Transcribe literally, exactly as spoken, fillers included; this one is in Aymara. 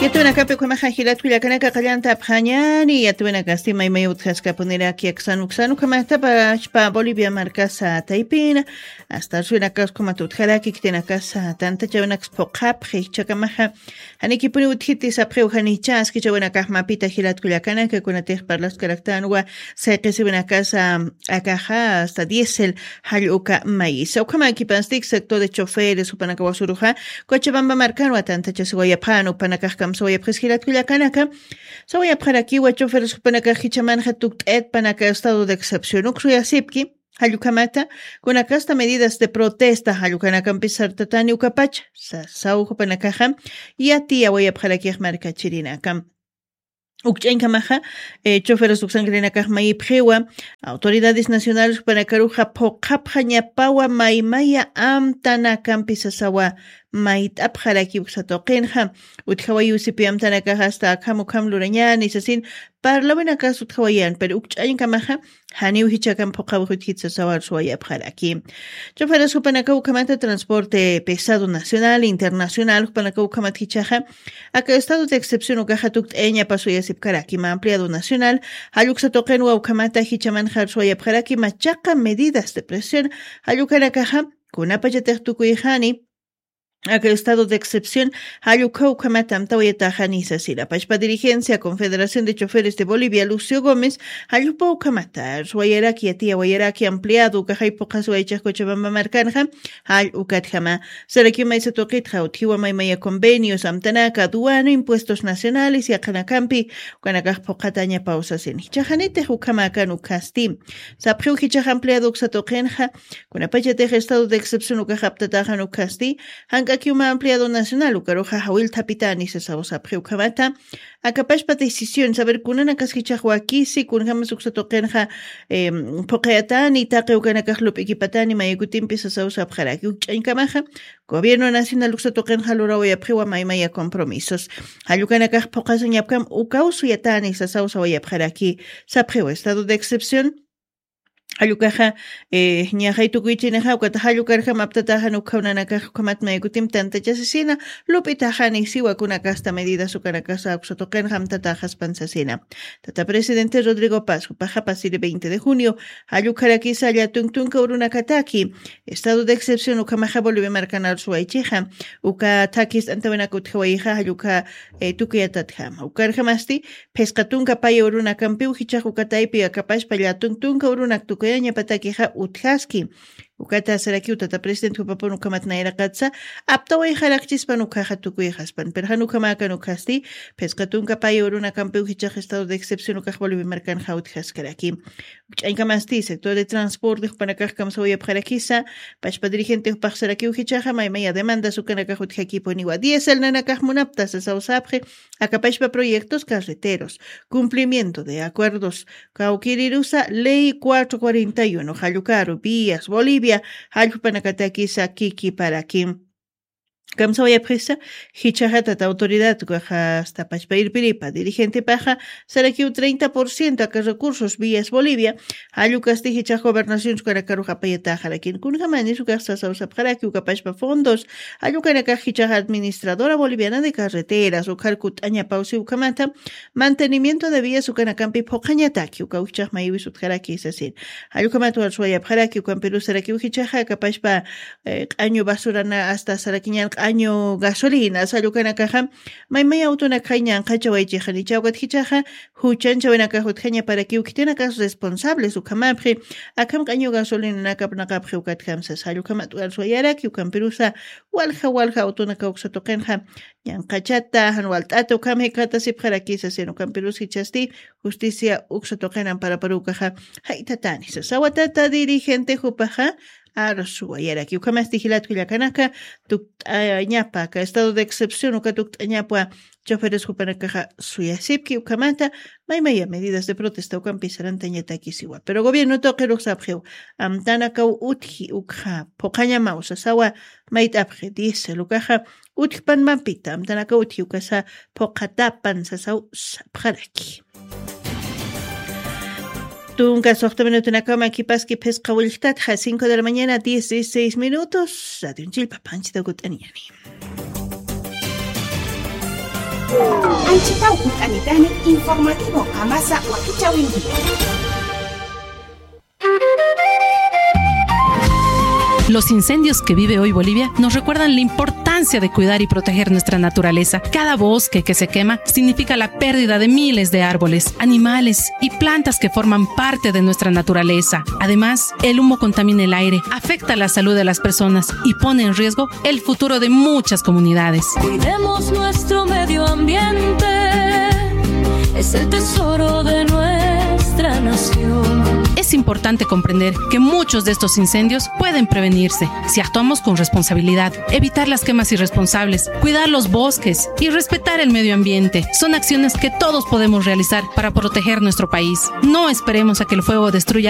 Yatwinakapi ukhamaxa jilat kullakanaka qallanta apxañani, yatwinakasti maymay utjaskapuniraki aksan uksan ukhamatapachpa Bolivia markasa taypina, hasta arsuwinakas ukhamat utjaraki khitinakasa tantachawinakas phuqhapxi, jichhakamaxa janikipuni utjiti sapxiw janicha askichawinakax mapita jilat kullakanaka kunatix parlaskaraktanwa sayqisiwinakasa akaxa hasta diésel jall uka mayisa. Ukhamakipasti sector de choferes jupanakawa suruxa Cochabamba markanwa tantachasiwayapxan upanakax kamsawayapxis jilat kullakanaka. Sawayapxarakiwa choferes jupanakax jichhamanxa tukt'ayatpanaka estado de excepción uksuyasipki. Jall ukhamata kunakasta medidas de protesta jall ukanakampis sartatani ukapacha sasaw jupanakaxa yatiyawayapxarakix markachirinaka. Ukch'añkamaxa choferes uksankirinakax mayipxiwa autoridades nacionales jupanakaruxa phuqhapxañapawa maymaya amtanakampi sasawa mayt'apxaraki uksa tuqinxa utjawayi usipi amtanakaxa asta akham ukham lurañani sasin parlawinakas utjawayan pero ukch'añkamaxa janiw jichhakam phuqhawix utjit sasawa arsuwayapxaraki. Choferes jupanakaw ukhamata transporte pesado nacional internacional jupanakaw ukhamat jichhaxa aka estado de excepción ukaxa tukt'ayañapa suyasipkaraki mä ampliado nacional jall uksa tuqinwa ukhamata jichhamanxa arsuwayapxaraki machaqa medidas de presión jall ukanakaxa kunapachatix tukuyxani aka estado de excepción jall ukha ukhamata amtawayataxani sasina pachpa dirigencia confederación de choferes de bolivia lucio gómez jall upa ukhamata arsuwayaraki yatiyawayaraki ampliado ukaxay phuqhasiwaychix cochabamba markanxa jall ukatjama. Sarakiw maysa tuqitxa utjiwa maymaya convenios amtanaka aduano impuestos nacionales yaqhanakampi ukanakax phuqhatañapaw sasina jichhaxanitix ukhamäkan ukhasti sapxiw jichhax ampliado uksa tuqinxa kunapachatix estado de excepción ukax aptataxan ukhasti jank'akiw mä ampliado nacional ukaruxa jawillthapitani sasaw sapxi ukhamata akapashpa decisión saber kunanakas jichhax wakisi kunjamas uksa tuqinxa phuqhayatani taqi ukanakax lup'ikipatani mayakutimpis sasaw sapxaraki ukch'añkamaxa gobierno nacional uksa tuqinxa lurawayapxiwa maymaya compromisos jall ukanakax phuqhasañapkam ukaw suyatani sasaw sawayapxaraki sapxiwa estado de excepción jall ukaxa ñaxay tukuychinixa ukata jall ukarjam aptataxan ukhawnanakax ukhamat maykutim tantachasisina lup'itaxani siwa kunakasta medidas ukanakasa uksa tuqinxa amtataxaspan sasina tata presidente rodrigo paz jupaxa pasiri veinte de junio jall ukharakisa llatun tunka urunakataki estado de excepción ukhamaxa bolivia markan arsuwaychixa uka thakis t'antawinak utjawayixa jall ukha tukuyatatjama ukarjamasti phisqa tunka paya urunakampiw jichhax uka taypi akapashpa llatun tunka urunak tukuyañapatakixa utjaski ukata sarakiw tata president jupapun ukhamat nayraqatsa aptawayxarakchispan ukhaxa tukuyxaspan pero jan ukhamäkan ukhasti phisqa tunka paya urunakampiw jichhax estado de excepción ukax bolivia markanxa utjaskaraki ukch'añkamasti sector de transporte jupanakax kamsawayapxarakisa pachpa dirigente jupax sarakiw jichhaxa maymaya demandas ukanakax utjakipuniwa diésel nanakax munapta sasaw sapxi akapashpa proyectos carreteros cumplimiento de acuerdos kawkirirusa ley cuatro cuarenta y uno jallukaru vías bolivia jallpanakatakisa kikiparakim kamsawayapxisa jichhaxatata autoridad ukaxa asta pachpa irpiripa dirigentepaxa sarakiw treinta por ciento aka recursos vías bolivia jallukasti jichhax gobernaciones ukanakaruxa apayataxarakin kunjamanis ukax sasaw sapxaraki ukapashpa fondos jallukanakax jichhax administradora boliviana de carreteras ukhar kut'añapawsi ukhamata mantenimiento de vías ukanakampi phuqhañataki uka ukchax maywis utjaraki sasin jallukhamat warsuwayapxaraki ukampirusarakiw jichhaxa akapashpa q'añu basurana asta sarakiñan q'añu gasolina sallukanakaxa maymay awtunakxay ñanqhachawaychixanicha ukat jichhaxa juchanchawinakax utjañaparakiw khitinakas responsables ukhamapxi akham q'añu gasolinanakapnaqapxi ukatjamsa sallukhamat warsuwayaraki ukampirusa walja walja awtunaka uksa tuqinxa ñanqhachata jan walt'ata ukham jikxatasipxarakisa sino ukampirus jichhasti justicia uksa tuqin amparaparu ukaxa jaythatani sasawatata dirigente jupaxa arsuwayaraki ukhamasti jilat kullakanaka tukt'añapa aka estado de excepción uka tukt'añapwa choferes jupanakaxa suyasipki ukhamata maymaya medidas de protesta ukampi sarantañatakisiwa pero gobierno tuqirux sapxiw amtanakaw utji ukxa phuqhañamaw sasawa mayt'apxi diésel ukaxa utjpan mampita amtanakaw utji ukasa phuqhatapan sasaw sapxaraki tunka suxta minutunakama kipaski phisqa willktatxa cinco de la mañana diez dieciséis minutos radionchillpa panchita kut'aniñani Anchhitaw utanitani informativo Qamasa Wakichäwinti. Los incendios que vive hoy Bolivia nos recuerdan la importancia de cuidar y proteger nuestra naturaleza. Cada bosque que se quema significa la pérdida de miles de árboles, animales y plantas que forman parte de nuestra naturaleza. Además, el humo contamina el aire, afecta la salud de las personas y pone en riesgo el futuro de muchas comunidades. Cuidemos nuestro medio ambiente, es el tesoro de nuestra nación. Es importante comprender que muchos de estos incendios pueden prevenirse si actuamos con responsabilidad. Evitar las quemas irresponsables, cuidar los bosques y respetar el medio ambiente son acciones que todos podemos realizar para proteger nuestro país. No esperemos a que el fuego destruya